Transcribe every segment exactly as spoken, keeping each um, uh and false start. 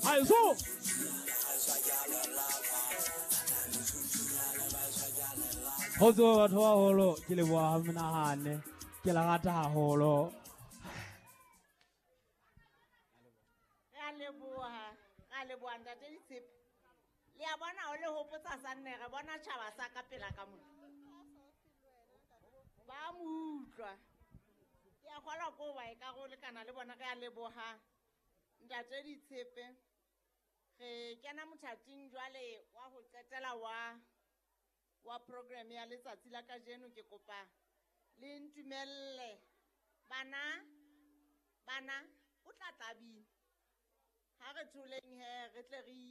Haeso. Ho tswa batho ba haholo, ke leboha ha menahane, ke la rata haholo. Re a leboha, re a leboha ntate Ditshepe. Le a bona o le hopotsa sa nne, re bona tjhaba sa ka pela ka mona. Ba mo utlwa. Ke a kgolwa ko ba e ka go lekana le bona, re a leboha ntate Ditshepe. Re kena mothating jwale wa ho qetela wa, wa program ya letsatsi la kajeno. Ke kopa le ntumelle bana, bana o tla tla bina. Ha re tholeng he, re tle re,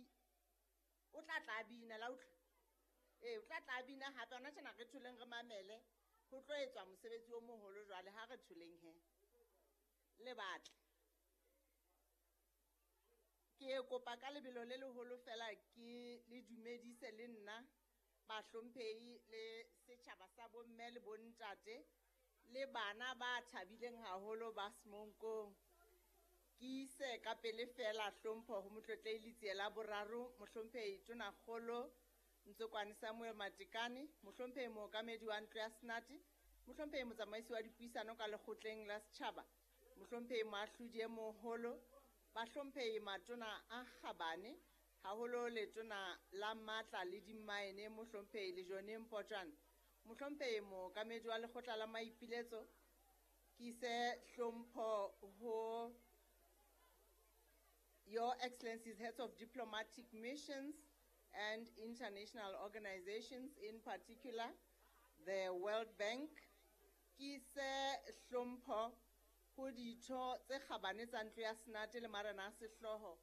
o tla tla bina la utlwa. Ee, o tla tla bina hape hona tjena re tholeng re mamele. Ho tlo etswa mosebetsi o moholo jwale, ha re tholeng he. Le batle. Ke kopa ka lebelo le leholo fela ke le dumedise le nna bahlomphehi le setjhaba sa bomme le bontate le bana ba thabileng haholo ba Semonkong. Ke ise ka pele fela hlompho ho Motlotlehi Letsie la Boraro, Mohlomphehi Tonakgolo Ntsokwane Samuel Matekane, Mohlomphehi Mookamedi wa Ntlo ya Senate, Mohlomphehi Motsamaisi wa Dipuisano ka Lekgotleng la Setjhaba, Mohlomphehi Moahlodi e Moholo, Bahlomphehi Matona a Kgabane, haholo Letona la Matla le Dimmaene, Mohlomphehi Lejone Mpotjane, Mohlomphehi Mookamedi wa Lekgotla la Maipiletso. Ke ise hlompho ho Your Excellencies, Heads of Diplomatic Missions and International Organizations, in particular the World Bank. Ke ise hlompho ho ditho tse kgabane tsa Ntlo ya Senate le marena a sehlooho,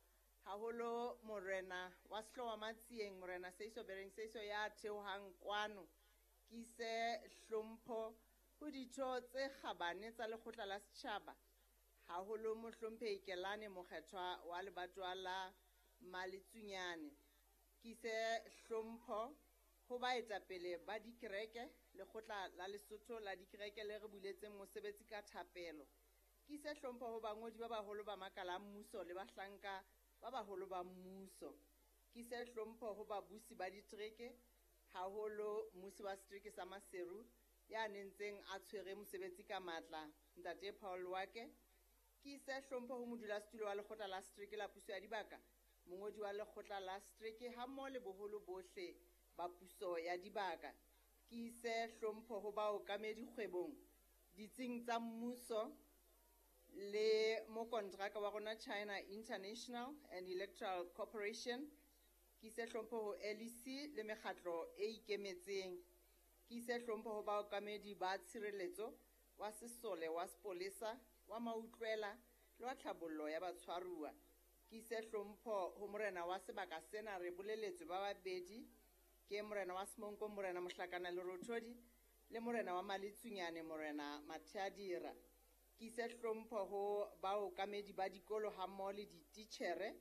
haholo morena wa sehlooho wa Matsieng, Morena Seiso Bereng Seiso ya theohang kwano. Ke ise hlompho ho ditho tse kgabane tsa Lekgotla la Setjhaba, haholo Mohlomphehi Kelane Mokgethwa wa lebatowa la Maletsunyane. Ke ise hlompho ho baetapele ba dikereke, Lekgotla la Lesotho la dikereke le re buletseng mosebetsi ka thapelo. Ke ise hlompho ho bangodi ba baholo ba makala a mmuso le bahlanka ba baholo ba mmuso. Ke ise hlompho ho babusi ba ditereke, haholo mmusi wa setereke sa Maseru ya nentseng a tshwere mosebetsi ka matla, Ntate Paul Wake. Ke ise hlompho ho modulasetulo wa Lekgotla la Setereke la Puso ya Dibaka, mongodi wa Lekgotla la Setereke hammoho le boholo bohle ba puso ya dibaka. Ke ise hlompho ho baokamedi kgwebong, ditsing tsa mmuso le mokontraka wa rona China International and Electoral Corporation. Ke ise hlompho ho L E C le mekgatlo e ikemetseng. Ke ise hlompho ho baokamedi ba tshireletso wa sesole wa sepolesa wa mautlwela le wa tlhabollo ya batshwaruwa. Ke ise hlompho ho morena wa sebaka sena, re boleletswe ba babedi, ke morena wa Semonkong Morena Mohlakana Lerothodi le morena wa Maletsunyane Morena Matheadira. Ke ise hlompho ho baokamedi ba dikolo hammoho le dititjhere